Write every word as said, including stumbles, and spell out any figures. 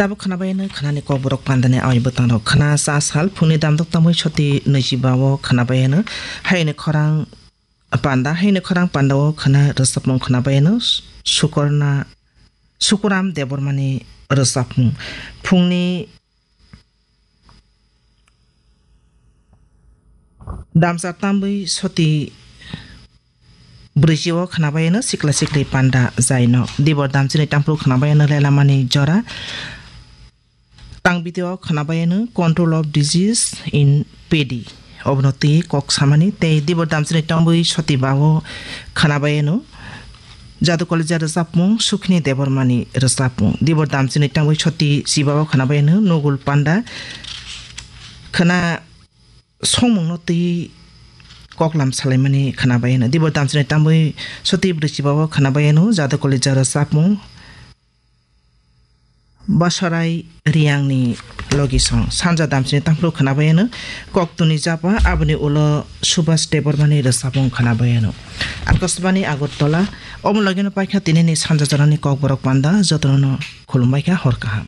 Abo khwnabaino khwnani kokborok pandani awai bwtangrok khwna cha sal phungni damdok tamwi soti nwichiba o khwnabaino hayni khorang panda, hayni khorang panda o khwna rwchapmung khwnabaino Sukorna, Sukuram Debbarmani rwchapmung. Phungni damsa tambwi soti brwichi o khwnabaino sikla sikli panda jaino. Dibor damchini tamphru khwnabaino lelamani jora. Tang video khwnabaino control of disease in paddy. Obono twi kok samani tei dibor damchini tambwi soti ba o khwnabaino. Jadu Kalija rwchapmung, Sukhini Debbarmani rwchapmung. Dibor damchini tangwi soti chiba o khwnabaino Nugul Panda khwna songmungno twi koklam salaimani khwnabaino. Dibor damchini tangwi soti brwi chiba o khwnabaino Jadu Kalija rwchapmung. Basarai Riyangni logi song sanja damchini tamphru khwnabaino Koktuni Japa, aboni ulo Subhas Debbarmani rwchapmung khwnabaino. Akashbani Agartala. Omo logino paikha tinini sanja jorani kokborok panda, jotono khulumbaikha, hor kaham.